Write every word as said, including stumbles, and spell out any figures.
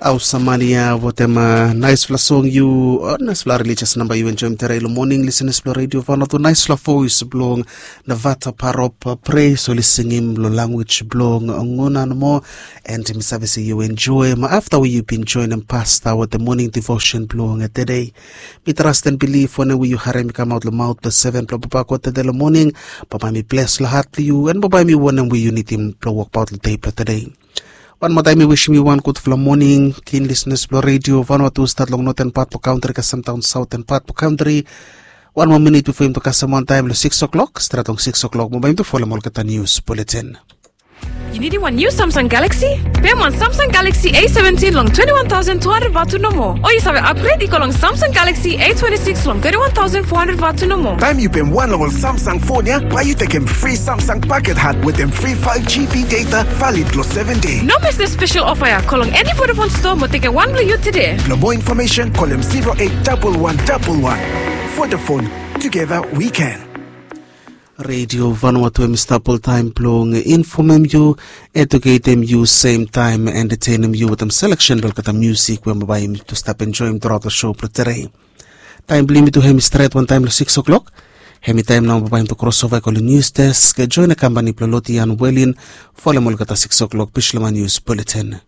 Au samani ya wetem naispela song yu, naispela religious namba yu enjoim tere long moning, lisenas bilong redio Vanuatu, naispela voice bilong Navata Parop, pres oli singim long language bilong Ngunan mo. And mi save se yu enjoim afta we yu bin joinim pasta wetem moning devotion bilong tede. Mi trust and believe wanem we yu harim i kamaut long maut bilong seven bilong papa god tede long moning, bambae mi bles long hat bilong yu, and bambae mi wanem we yu nidim bilong wokbaut long de bilong tede. Wan moa taim mi wisim yu wan gutpela moning, kin lisenas bilong redio Vanuatu, stat long noten pat bilong kantri kasem daun sauten pat bilong kantri. Wan moa minit bifo yum tu kasem wantaim long six o'clock, stret long six o'clock mo baim tu folem olgeta nius buletin. Yu nidim wan niu Samsung Galaxy? Pem wan Samsung Galaxy A seventeen long twenty one thousand two hundred vatu nomo. O yu save upgrade i go long Samsung Galaxy A twenty six long thirty one thousand four hundred vatu nomo. Taim yu pem wan long ol Samsung fon ya, bai yu tekem fri Samsung paket hat wetem fri five G B data valid long seven day. No mes dispela spesel ofa ya, go long eni Vodafone stoa mo tekem wan bilong yu tude. Bilong moa infomesen, kolem zero eight double one double one. Vodafone, together we can. Redio Vanuatu em i stap oltaim bilong infomem yu, eduketem yu, sem taim entetenem yu wetem seleksen bilong olgeta musik we bai yumi tu stap enjoim turaut long show bilong tere. Taim bilong yumi tu em i stret wantaim long six o'clock. Em i taim nau bai yumi tu krosova i go long nius desk, join na kampani bilong Lotian Welin, folem olgeta six o'clock Bislama Nius Buletin.